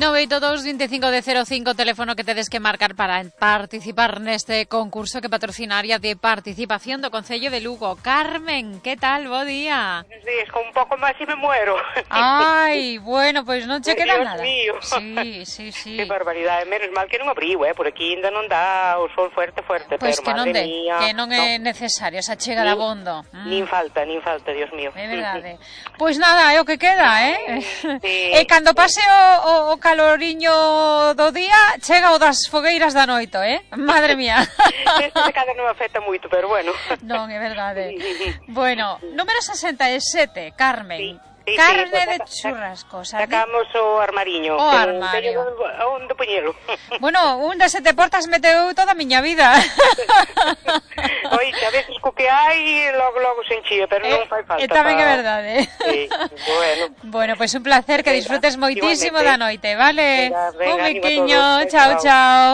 982 25 de 05, teléfono que tedes que marcar para participar neste concurso que patrocina área de participación do Concello de Lugo. Carmen, que tal? Bo día. Buenos días, con un pouco máis e me muero. Ai, bueno, pois non che queda Dios nada. Mío. Sí. Que barbaridade, menos mal que non abriu, por aquí ainda non dá o sol fuerte, Pois pero que non madre de, mía. que non é necesario esa chega de abondo. Nin falta, Dios mío. É verdade. Pois nada, é o que queda, Sí. E cando pase o caloriño do día, chega o das fogueiras da noite, Madre mía. Este cada non me afecta moito, pero bueno. Non, é verdade. Bueno, número 67, Carmen. Sí, Carne pues de churrasco, sacamos o armariño. O armario. Onde poñelo? Bueno, un de sete portas meteu toda a miña vida. Oi, a veces co que hai, logo se enchía, pero non fai falta. E tamén é verdade. Sí, bueno. Bueno, pois un placer, que disfrutes moitísimo da noite, vale? Venga, Un ánimo a biquiño, todos. chao.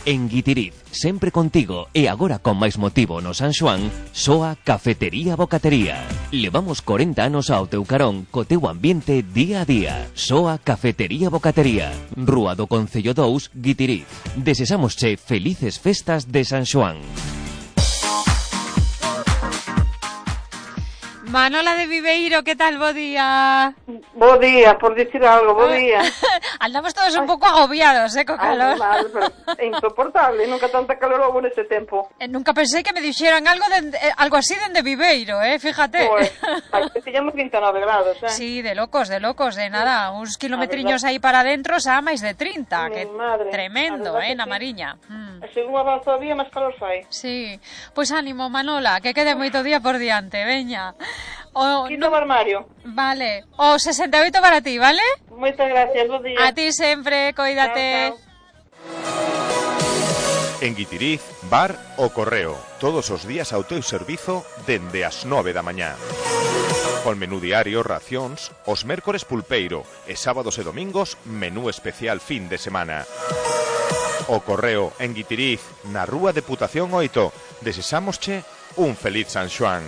En Guitiriz, sempre contigo e agora con máis motivo no San Xoán, soa Cafetería Bocatería. Levamos 40 anos ao teu carón co teu ambiente día a día. Soa Cafetería Bocatería, Rúa do Concello 2, Guitiriz. Desesámosche felices festas de San Xoán. Manola de Viveiro, que tal? Bo día. Bo día, por dicir algo, bo día. Andamos todos un pouco agobiados, co calor. Mal, pero é insoportable, nunca tanta calor houve neste tempo. Nunca pensei que me dixeran algo así dende Viveiro, fíjate. Pois, aquí tiñamos 29 grados, Sí, de locos, de nada, uns kilometriños aí para dentro xa máis de 30, que madre, tremendo, na Mariña. Según avanza o día, máis calor fai. Sí, pois ánimo, Manola, que quede moito día por diante, veña. Quito o armario. Vale, o 68 para ti, vale? Moitas gracias, bo día. A ti sempre, coídate. Chao. En Guitiriz, bar O Correo, todos os días ao teu servizo dende as 9 da mañá. Con menú diario, racións, os mércores pulpeiro e sábados e domingos, menú especial fin de semana. O Correo, en Guitiriz, na Rúa Deputación 8, desesámosche un feliz San Xoán.